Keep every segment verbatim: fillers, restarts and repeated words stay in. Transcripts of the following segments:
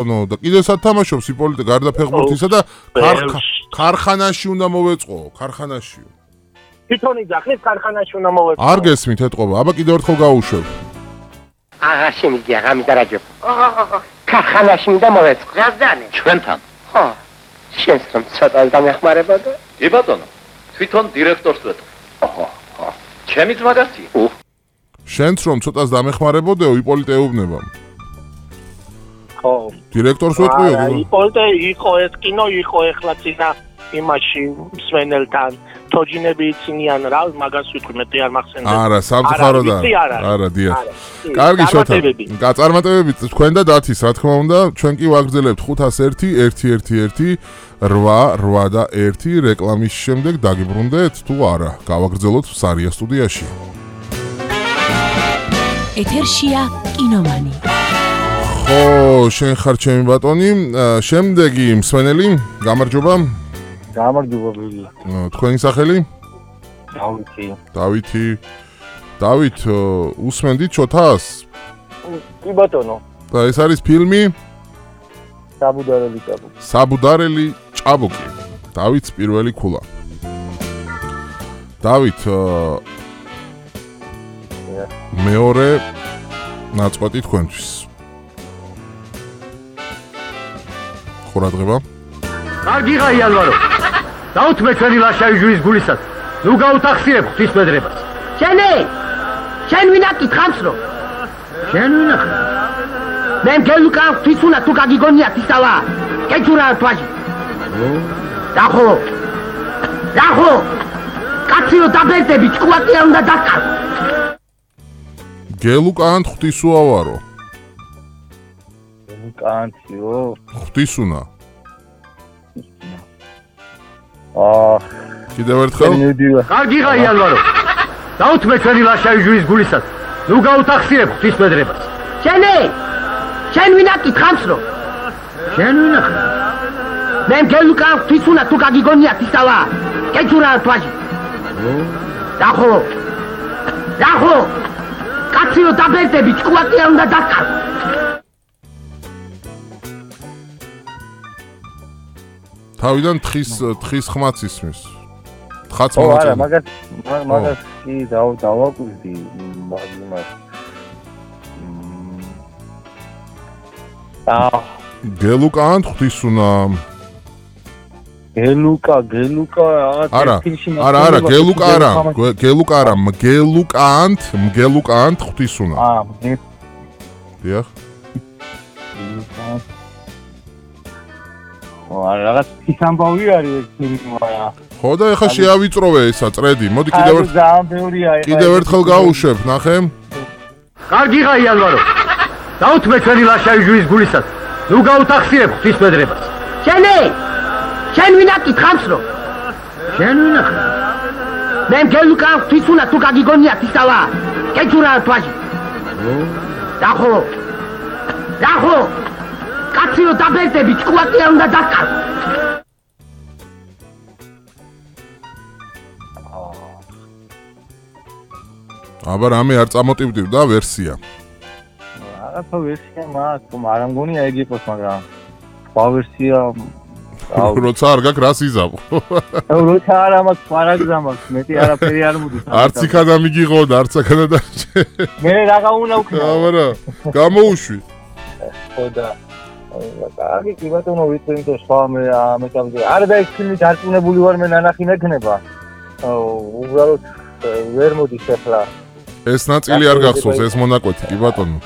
ნო და კიდე სათამაშობს იპოლიტე გარდა ფეხბურთისა და ქარხანაში უნდა მოვეწყო, ქარხანაშიო. თვითონ იძახის ქარხანაში უნდა მოვეწყო. არ გესმით ეთყობა, აბა კიდევ ერთხელ გაუშვებ. აა შემიძლია გამიდარაჯო. ქარხანაში უნდა მოვეწყო. გაზდანი. ჩვენთან. ხო. შენს რომ ცოტა დამეხმარებოდა? კი ბატონო. თვითონ დირექტორს ვეთქვი. ოჰო, ხო. ჩემი ძმაგაცია. შენც რომ ცოტას დამეხმარებოდეო იპოლიტე ეუბნება. ხო. დირექტორს ვეთქვიო? იპოლიტე იყო ეს კინო იყო ეხლა წინა იმაში მსვენელთან. თოჯინები იცინიან რა, მაგას ვიტყვი მეტი არ მახსენდება. არა, სამწუხარო და არა, დიახ. კარგი შოთა. გაწარმოებებით თქვენ და დათის, რა თქმა უნდა, ჩვენ კი ვაგრძელებთ ხუთას ერთი ერთი ერთი ერთი რვა რვა და ერთი რეკლამის შემდეგ დაგიბრუნდეთ თუ არა. გავაგრძელოთ სარია სტუდიაში. ეთერშია კინომანი. ხო, შენ ხარ ჩემი ბატონი, შემდეგი მსვენელი, გამარჯობა. გამარჯობა ბიგი. თქვენი სახელი? დავითი. დავითი. დავით, უსმენდით შოთას? კი ბატონო. და ეს არის ფილმი? საბუდარელი ჭაბუკი. საბუდარელი ჭაბუკი. დავითს პირველი ქულა. დავით, მეორე ნაწყვეტი თქვენთვის. ხურადღება? კარგი ღაი ალვარო. დაუთმე ჩვენი ლაშაიჟუის გულისას. ნუ გაუთახსიებ ღვთისმედრებას. შენი! შენ ვინა კითხავს რო? შენ ვინა ხარ? მე მგელუკა ღვთისუნა თუ გაგიგონია თისავა. კეჭურა თვაჟი. დახო. დახო. კაციო დაბერდები ჭკუატია უნდა დაკავ. გელუკან ღვთისუავარო. გელუკანციო. ღვთისუნა. აა კიდევ ერთხელ? კარგი ღაი ალვარო. დაუთმე ჩვენი ლაშაიჟუის გულისას. ნუ გაუთახსიებ ღვთისმედრებას. შენი! შენ ვინა კითხავს რო? შენ ვინა ხარ? მე მგელუკა ღვთისუნა თუ გაგიგონია თისავა. კეჭურა თვაჟი. დახო. დახო. კაციო დაბერდები ჭკუატია უნდა დაკავ. თავიდან თხის თხის ხმაც ისმის. თხაც ო მონაწილე. არა, მაგას მაგას კი დავაკვირდი მაგას. აა გელუკან ღვთისუნა. გელუკა, გელუკა არა, არა, არა, გელუკა არა, გელუკა არა, მგელუკანთ, მგელუკანთ ღვთისუნა. აა, დიახ. ო, არა, რაღაც ისამბავი არის ეს ფილმი, არა. ხო და ეხა შეავიწროვე ესა წრედი. მოდი კიდევ ერთ ძალიან ბევრია ეხა. კიდევ ერთხელ გავუშვებ, ნახე. კარგი ღაი ალვარო. დაუთმე ჩვენი ლაშაიჟუის გულისას. ნუ გაუთახსიებ ღვთისმედრებას. შენი! შენ ვინა კითხავს რო? შენ ვინა ხარ? მე მგელუკა ღვთისუნა თუ გაგიგონია თისავა. კეჭურა თვაჟი. დახო. დახო. კაციო დაბერდები ჭკუატია უნდა დაკავ. აბა რამე არ წამოტივდივდა ვერსია. რაღაცა ვერსია მაქვს, მაგრამ მგონია ეგ იყოს, მაგრამ სხვა ვერსია როცა არ გაქვს რას იზავ. როცა არ მაქვს პარაგზა მაქვს, მეტი არაფერი არ მოდის. არც იქადა მიგიღო და არც აქადა დარჩე. მე რაღა უნდა ვქნა. აბა გამოუშვი. ხო და კარგი კი ბატონო ვიცი თუ სხვა მე ამეთამდე არა და ეს ფილმი დარწმუნებული ვარ მე ნანახი მექნება. უბრალოდ ვერ მოდის ახლა. ეს ნაწილი არ გახსოვს, ეს მონაკვეთი კი ბატონო.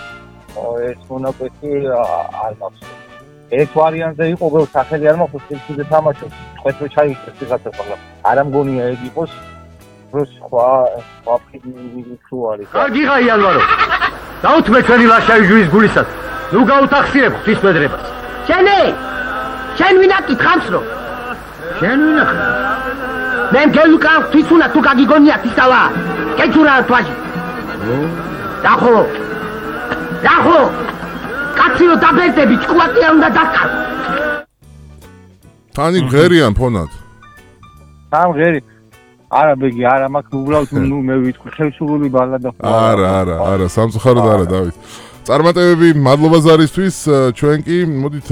ეს მონაკვეთი არ გახსოვს. ეს ვარიანტზე იყო გო სახელი არ მაქვს ფილმზე თამაშობს. ხვეთრო ჩაიქცეს ვიღაცა ხოლმე. არა მგონია ეგ იყოს. რო სხვა სხვა ფილმი თუ არის. კარგი ღაი ალვარო. დაუთმე ჩვენი ლაშაიჟუის გულისას. ნუ გაუთახსიებ ღვთისმედრებას. შენი! შენ ვინა კითხავს რო? შენ ვინა ხარ? მე მგელუკა ღვთისუნა თუ გაგიგონია თისავა. კეჭურა თვაჟი. დახო. დახო. კაციო დაბერდები ჭკუატია უნდა დაკავ. თანი ღერიან ფონად. თან ღერი. არა ბეგი, არა მაქვს უბრალოდ ნუ მე ვიტყვი ხელშუღული ბალადა. არა, არა, არა, სამწუხაროდ არა დავით. წარმატებები, მადლობა ზარისთვის, ჩვენ კი მოდით